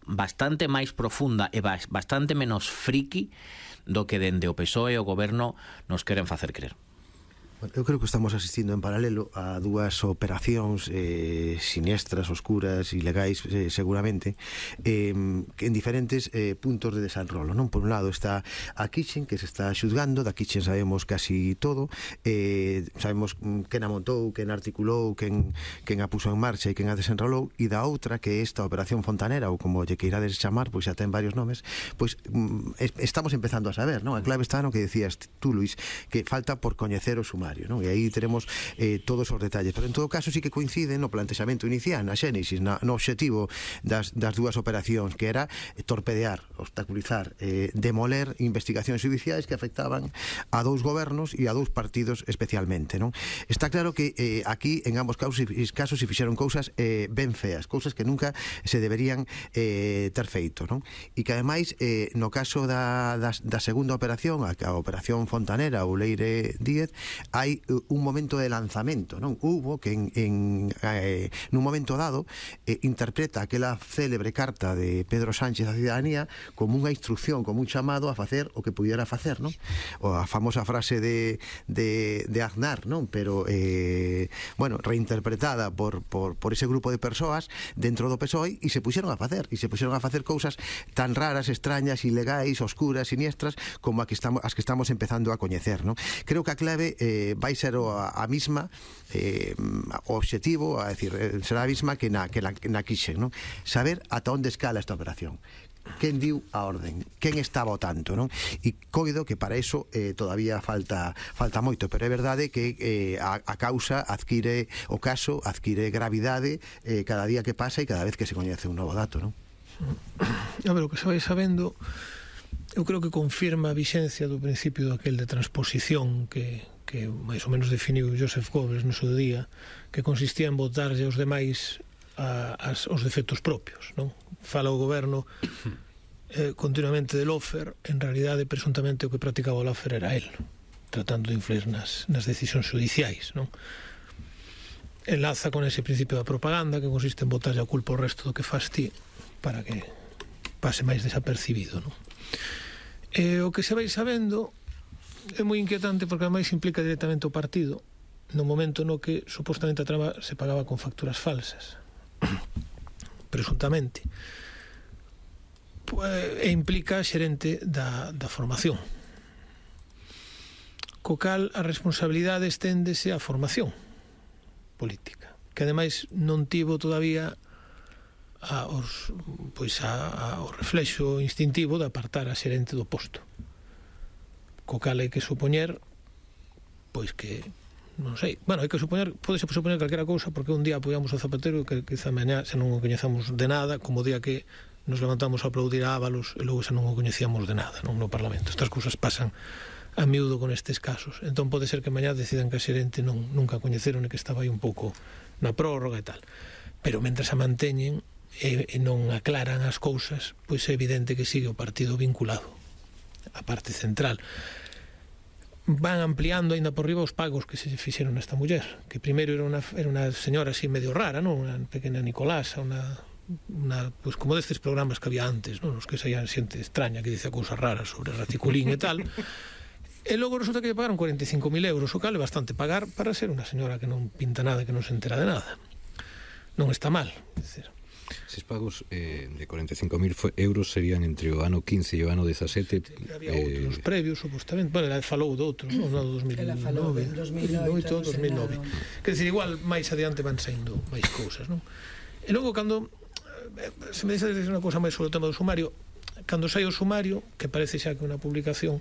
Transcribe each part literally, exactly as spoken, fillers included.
bastante máis profunda e bastante menos friki do que dende o P S O E e o goberno nos queren facer crer. Eu creo que estamos asistindo en paralelo a dúas operacións eh, siniestras, oscuras, ilegais eh, seguramente eh, en diferentes eh, puntos de desenrolo, non? Por un lado está a Kitchen, que se está xuzgando, da Kitchen sabemos casi todo, eh, sabemos quen a montou, quen articulou, quen, quen a puso en marcha e quen a desenrolou, e da outra, que é esta operación Fontanera, ou como lle queirades chamar, pois xa ten varios nomes, pois mm, estamos empezando a saber, non? A clave está no que decías tú, Luis, que falta por coñecer o sumario, non? E aí teremos eh, todos os detalles, pero en todo caso sí que coincide no plantexamento inicial, na xénesis, na, no obxectivo das, das dúas operacións, que era torpedear, obstaculizar, eh, demoler investigacións judiciais que afectaban a dous gobernos e a dous partidos especialmente, non? Está claro que eh, aquí en ambos casos, casos se fixeron cousas eh, ben feas, cousas que nunca se deberían eh, ter feito, non? E que ademais eh, no caso da, da, da segunda operación, a, a operación Fontanera ou Leire Díez, hai un momento de lanzamento, non? Hubo que en, en eh, nun momento dado eh, interpreta aquela célebre carta de Pedro Sánchez á cidadanía como unha instrucción, como un chamado a facer o que pudiera facer, non? O a famosa frase de, de, de Aznar, non? Pero eh, bueno, reinterpretada por, por, por ese grupo de persoas dentro do P S O E, e se puxeron a facer e se puxeron a facer cousas tan raras, extrañas, ilegais, oscuras, siniestras como a que estamos, as que estamos empezando a coñecer, non? Creo que a clave eh, vai ser a, a misma eh, o obxectivo, a decir, será a misma que na, que na, na Kitchen, non? Saber ata onde escala esta operación, quen diu a orden, quen está votando, non? E coido que para eso eh, todavía falta falta moito, pero é verdade que eh, a, a causa adquire, o caso adquire gravidade eh, cada día que pasa e cada vez que se coñece un novo dato, non? A ver, o que se vai sabendo, eu creo que confirma a vixencia do principio daquel de transposición que que máis ou menos definiu Joseph Goebbels no seu día, que consistía en votarlle aos demais a, as, os defectos propios, non? Fala o goberno eh, continuamente de Lofer, en realidade presuntamente o que practicaba o Lofer era él, tratando de influir nas, nas decisións judiciais, non? Enlaza con ese principio da propaganda, que consiste en botarlle a culpa ao resto do que faz ti para que pase máis desapercibido, non? E o que se vai sabendo é moi inquietante, porque ademais implica directamente o partido no momento no que supostamente a trama se pagaba con facturas falsas presuntamente, e implica a xerente da, da formación, co cal a responsabilidade esténdese á formación política, que ademais non tivo todavía a, os, pois a, a, o reflexo instintivo de apartar a xerente do posto, co cal hai que supoñer pois que, non sei, bueno, hai que supoñer, podese supoñer calquera cousa, porque un día apoiamos o Zapatero que quizá mañá xa non o coñezamos de nada, como o día que nos levantamos a aplaudir a Ábalos e logo xa non o coñecíamos de nada, non, no Parlamento. Estas cousas pasan a miúdo con estes casos, entón pode ser que mañá decidan que a xerente non, nunca coñeceron e que estaba aí un pouco na prórroga e tal, pero mentres a manteñen e, e non aclaran as cousas, pois é evidente que sigue o partido vinculado a parte central. Van ampliando aínda por riba os pagos que se fixeron a esta muller, que primeiro era unha, era unha señora así medio rara, non? Unha pequena Nicolasa, unha, unha, pues como destes programas que había antes, non? Os que saían xente extraña que dice cousas raras sobre raticulín e tal, e logo resulta que lle pagaron cuarenta e cinco mil euros, o cal é bastante pagar para ser unha señora que non pinta nada, que non se entera de nada. Non está mal, é dicir. Eses pagos eh, de cuarenta e cinco mil euros serían entre o ano quince e o ano dezasete. Había eh... outros previos, supostamente. Bueno, ela falou de outros, non? No dos mil nove, dos mil oito, dos mil nove. Quer dizer, igual máis adiante van saindo máis cousas, non? E logo, cando se me dice unha cousa máis sobre o tema do sumario, cando sai o sumario, que parece xa que unha publicación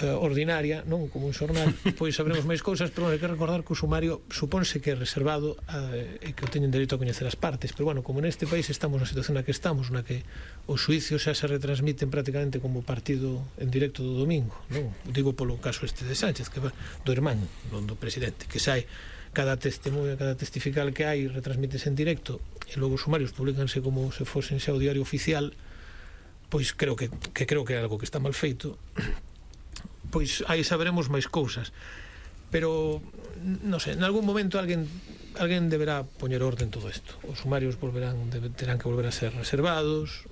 Uh, ordinaria, non como un xornal, pois sabremos máis cousas, pero bueno, hai que recordar que o sumario supónse que é reservado uh, e que o teñen dereito a coñecer as partes, pero bueno, como neste país estamos na situación na que estamos, na que os xuicios xa se retransmiten prácticamente como partido en directo do domingo, non? Digo polo caso este de Sánchez, que va, do irmán, non do presidente, que sai cada testemunho, cada testifical que hai retransmítese en directo e logo os sumarios publicanse como se fosen xa o diario oficial, pois creo que, que creo que é algo que está mal feito. Pois aí saberemos máis cousas, pero non sei, en algún momento alguén alguén deberá poñer orde en todo isto. Os sumarios volverán, terán que volver a ser reservados,